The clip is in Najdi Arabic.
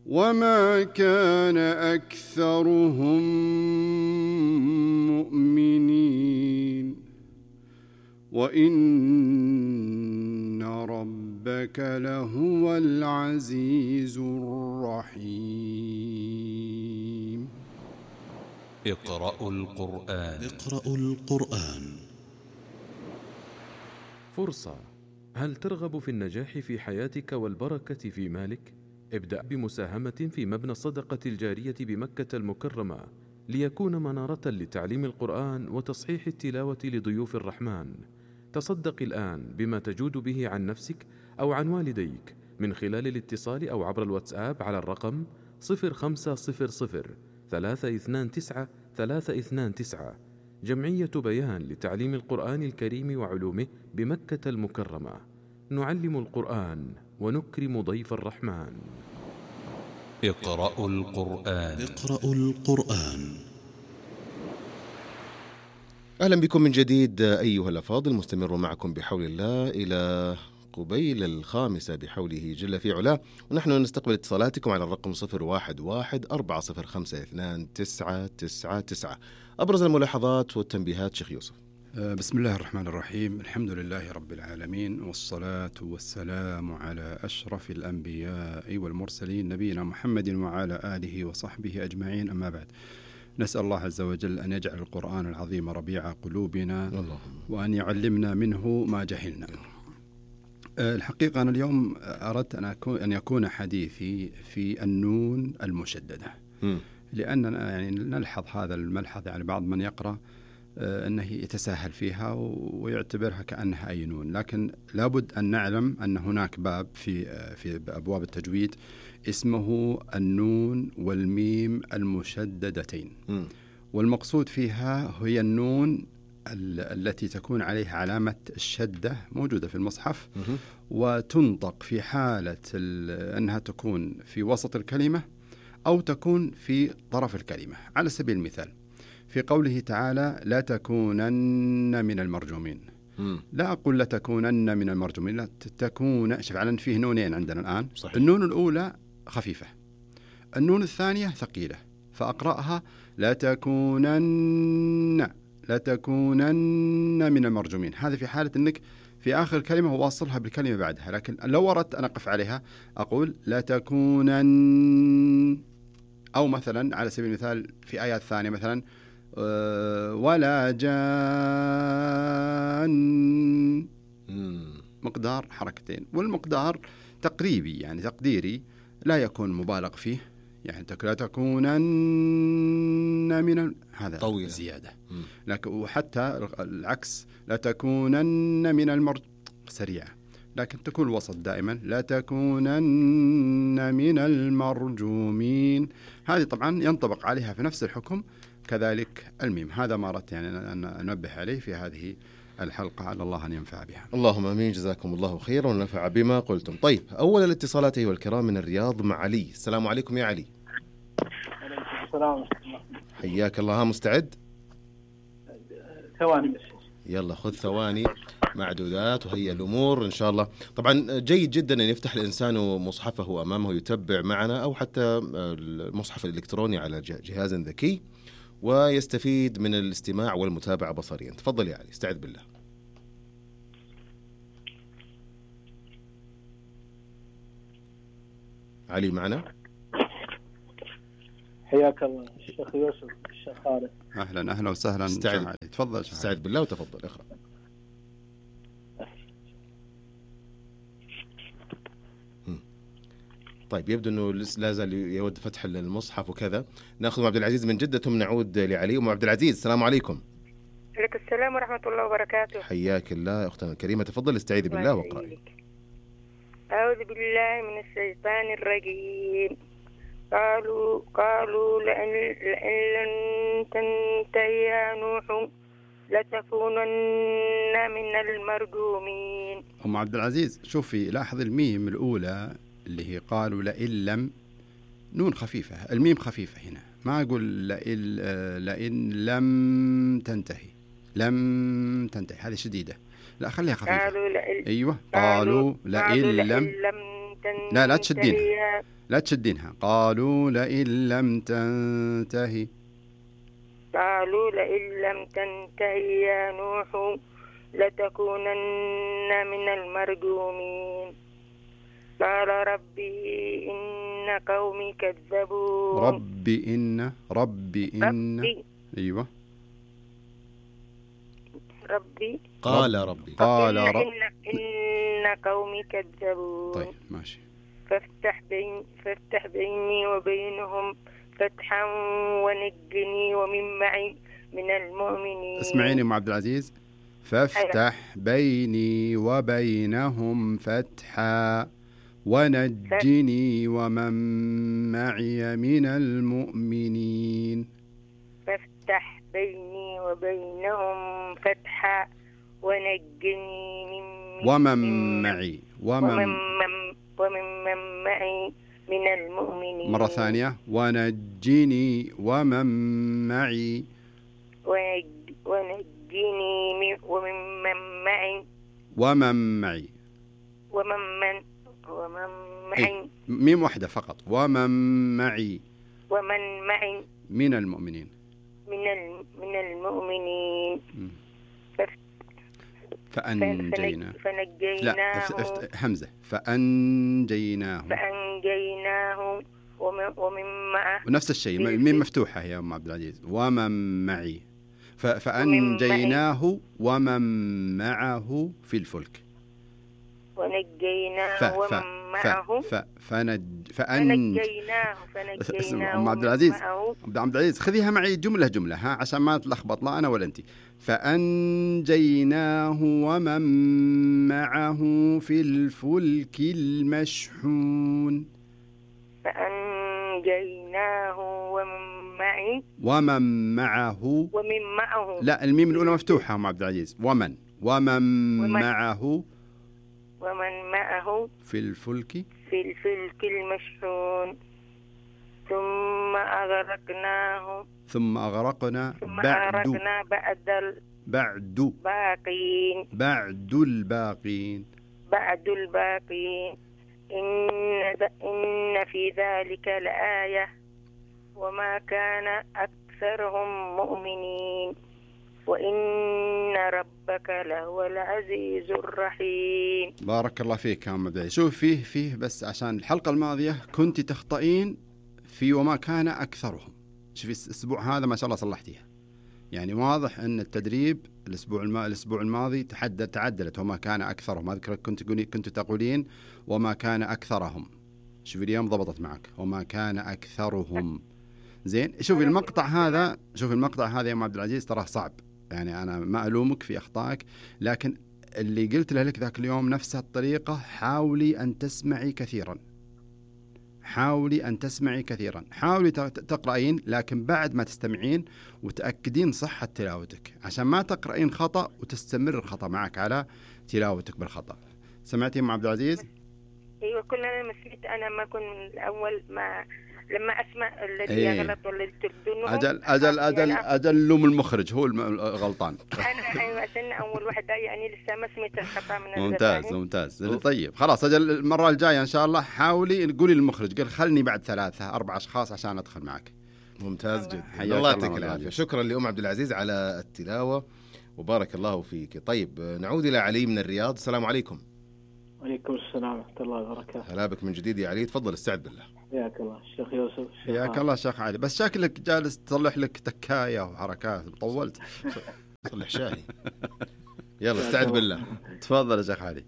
وما كان أكثرهم مؤمنين وإن ربك لهو العزيز الرحيم. اقرأوا القرآن. فرصة. هل ترغب في النجاح في حياتك والبركة في مالك؟ ابدأ بمساهمة في مبنى الصدقة الجارية بمكة المكرمة ليكون منارة لتعليم القرآن وتصحيح التلاوة لضيوف الرحمن. تصدق الآن بما تجود به عن نفسك أو عن والديك من خلال الاتصال أو عبر الواتساب على الرقم 0500 329 329. جمعية بيان لتعليم القرآن الكريم وعلومه بمكة المكرمة. نعلم القرآن ونكرم ضيف الرحمن. اقرأوا القرآن. أهلا بكم من جديد أيها الأفاضل، مستمر معكم بحول الله إلى قبيل 5 بحوله جل في علاه، ونحن نستقبل اتصالاتكم على الرقم 011-405-2999. أبرز الملاحظات والتنبيهات شيخ يوسف. بسم الله الرحمن الرحيم. الحمد لله رب العالمين، والصلاة والسلام على أشرف الأنبياء والمرسلين نبينا محمد وعلى آله وصحبه أجمعين، أما بعد. نسأل الله عز وجل أن يجعل القرآن العظيم ربيع قلوبنا وأن يعلمنا منه ما جهلنا. الحقيقة أنا اليوم أردت أن يكون حديثي في النون المشددة، لأننا يعني نلحظ هذا الملحظ، يعني بعض من يقرأ أنه يتساهل فيها ويعتبرها كأنها أي نون، لكن لابد أن نعلم أن هناك باب في أبواب التجويد اسمه النون والميم المشددتين، والمقصود فيها هي النون التي تكون عليها علامة الشدة موجودة في المصحف، وتنطق في حالة أنها تكون في وسط الكلمة أو تكون في طرف الكلمة. على سبيل المثال في قوله تعالى لا تكونن من المرجومين، لا أقول لا تكونن من المرجومين، لا تكون. فعلا فيه نونين عندنا الآن. صحيح. النون الأولى خفيفة، النون الثانية ثقيلة، فأقرأها لا تكونن من المرجومين. هذا في حالة أنك في آخر كلمة واصلها بالكلمة بعدها، لكن لو أردت أن أقف عليها أقول لا تكونن. أو مثلا على سبيل المثال في آيات ثانية مثلا ولا جان، مقدار حركتين، والمقدار تقريبي يعني تقديري لا يكون مبالغ فيه، يعني لا تكونن من هذا طويلة زيادة، لكن وحتى العكس لا تكونن من سريعة، لكن تكون الوسط دائما لا تكونن من المرجومين. هذه طبعا ينطبق عليها في نفس الحكم كذلك الميم. هذا ما أردت يعني أن أنبه عليه في هذه الحلقة، على الله أن ينفع بها. اللهم آمين، جزاكم الله خيرا ونفع بما قلتم. طيب، أول الاتصالات أيها الكرام من الرياض مع علي. السلام عليكم يا علي. السلام. حياك الله. مستعد؟ ثواني بس. يلا خذ ثواني معدودات وهي الأمور إن شاء الله. طبعا جيد جدا أن يفتح الإنسان مصحفه أمامه يتبع معنا، أو حتى المصحف الإلكتروني على جهاز ذكي، ويستفيد من الاستماع والمتابعة بصريا. تفضل يا علي، استعد بالله. علي معنا؟ حياك الله الشيخ يوسف، الشيخ خالد. أهلا وسهلا. استعد. تفضل. استعد بالله وتفضل اقرأ. طيب، يبدو أنه لا زال يود فتح المصحف وكذا. نأخذ عبد العزيز من جدة ثم نعود لعلي. عبد العزيز، السلام عليكم. عليكم السلام ورحمة الله وبركاته. حياك الله أختنا الكريمة، تفضل استعيذي بالله واقرأي. أعوذ بالله من الشيطان الرجيم. قالوا لئن لم تنتهي يا نوح لتكونن من المرجومين. أم عبد العزيز، شوفي لاحظ الميم الأولى اللي هي قالوا لئن لم، نون خفيفة، الميم خفيفة هنا، ما أقول لئن لم تنتهي، لم تنتهي هذه شديدة، لا خليها خفيفة. قالوا أيوة، قالوا لئن لم لا تنتهي تشدينها، لا تشدينها. قالوا لئن لم تنتهي. قالوا لئن لم تنتهي يا نوح لتكونن من المرجومين. قال ربي إن قومي كذبون. ربي أيوة. ربي قال إن قومي كذبون. طيب ماشي. فافتح بيني وبينهم فتحا ونجني ومن معي من المؤمنين. اسمعيني أم عبد العزيز، فافتح بيني وبينهم فتحا ونجني ومن معي من المؤمنين. فافتح بيني وبينهم فتحا ونجني ومن معي من المؤمنين. مرة ثانية، ونجني ومن معي ومن معي ميم واحدة فقط. ومن معي من المؤمنين. من المؤمنين. فنجيناه. لا همزة. فأنجيناه ومن معه. ونفس الشيء ميم مفتوحة يا أم عبد العزيز. ومن معي. فأنجيناه ومن معه في الفلك. ونجيناه ومن معه. فنجيناه أم عبد العزيز خذيها معي جملة ها عشان ما تلخبط لا أنا ولا أنت. فأنجيناه ومن معه في الفلك المشحون. فأنجيناه ومن معه. لا الميم الأولى مفتوحة أم عبد العزيز. ومن معه في الفلك المشحون. ثم أغرقنا بعد الباقين. إن في ذلك لآية وما كان أكثرهم مؤمنين وإن ربك لهو العزيز الرحيم. بارك الله فيك يا أم عبد العزيز. شوف فيه بس عشان الحلقة الماضية كنت تخطئين في وما كان أكثرهم. شوفي الأسبوع هذا ما شاء الله صلحتيها، يعني واضح أن التدريب الأسبوع الماضي تعدلت. وما كان أكثرهم، أذكر كنت تقولين وما كان أكثرهم. شوفي اليوم ضبطت معك وما كان أكثرهم. زين. شوفي المقطع هذا يا أم عبد العزيز تراه صعب، يعني أنا ما ألومك في أخطائك، لكن اللي قلت لك ذاك اليوم نفس الطريقة. حاولي أن تسمعي كثيرا، حاولي تقرأين، لكن بعد ما تستمعين وتأكدين صحة تلاوتك عشان ما تقرأين خطأ وتستمر الخطأ معك على تلاوتك بالخطأ. سمعتي أم عبد العزيز؟ أيوة كلنا مسلمت. أنا ما كنت من الأول لما أسمع الذي يغلط والذي تردونه أجل لوم المخرج هو الغلطان. أنا أيوة عشان أول واحدة يعني لسه ما سمعت الخطأ من ممتاز. طيب خلاص أجل المرة الجاية إن شاء الله حاولي قولي للمخرج قال خلني بعد 3-4 أشخاص عشان أدخل معك. ممتاز جدا. الله يعطيك العافية. شكرا لأم عبد العزيز على التلاوة وبارك الله فيك. طيب نعود إلى علي من الرياض. السلام عليكم. وعليكم السلام ورحمة الله وبركاته. هلا بك من جديد يا علي، تفضل استعد بالله. حياك الله الشيخ يوسف. حياك الله شيخ علي. بس شكلك جالس تصلح لك تكاية وحركات، طولت. صلح شاي. يلا استعد بالله. تفضل يا شيخ علي.